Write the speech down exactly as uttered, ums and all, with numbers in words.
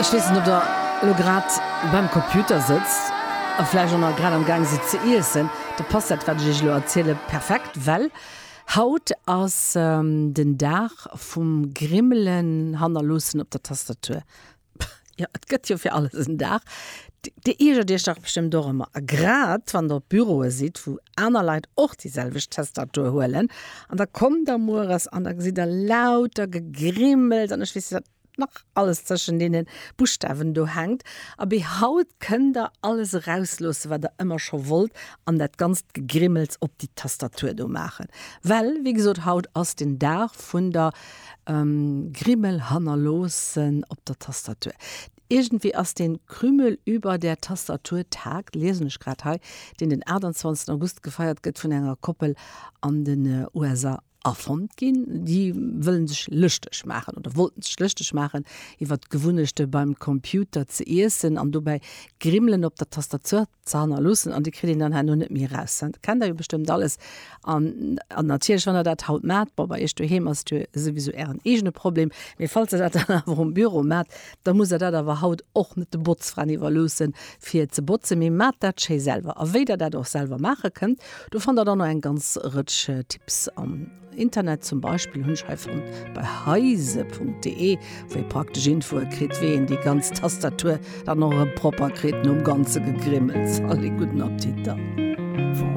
Ech weess net, ob der elo grad beim Computer sëtzt a vläicht och nach grad am Gaang sidd ze iessen, da passt dat, wat ech iech elo erziele perfekt, well haut ass den Dag vum Grimmelen hannerloossen op der Tastatur. Jo, et gëtt jo fir alles en Dag. Dir iergert iech dach bestëmmt och ëmmer, a grad wann der op Büroe sidd, wou aner Leit och déi selwecht Tastatur huelen, an da kommt der mueres an da gesitt der lauter Gegrimmels an ech weess net wat nach alles tëschent deene Buschtawen do hänkt. Abee, haut kënnt der alles erausloossen, wat der ëmmer scho wollt, an dat ganzt Gegrimmels op déi Tastatur do maachen. Well, wéi gesot, haut ass den Dag vun der Grimmel hannerloossen op der Tastatur. Iergendwéi ass den Krümel über der Tastatur Tag, liesen ech grad hei, deen den aachtanzwanzegsten August gefeiert gëtt, vun enger Koppel an den U S A erfonnt ginn. Déi wëllen sech lëschteg maachen oder wollten sech lëschteg maachen iwwert d'Gewunnechte beim Computer ze iessen an dobäi Grimmelen op der Tastatur ze hannerloossen an déi kritt een dann herno net méi eraus. Dat kennt der jo bestëmmt alles. An an natierlech wann der dat haut maacht, bon bei iech doheem ass et jo souwisou ären eegene Problem, mee falls der dat dann awer um Büro maacht, da musst der dat awer haut och net de Botzfraen iwwerloossen fir ze botzen, mee maacht dat schéi selwer. A wéi der dat och selwer maache kënnt, do fannt der dann och eng ganz Rëtsch Tipps am Internet. Zum Beispill hunn ech hei fonnt bei heise Punkt de, wou ee praktesch Infoe kritt, wéi een déi ganz Tastatur dann och erëm propper kritt nom ganze Gegrimmels. Allez, gudden Appetit dann.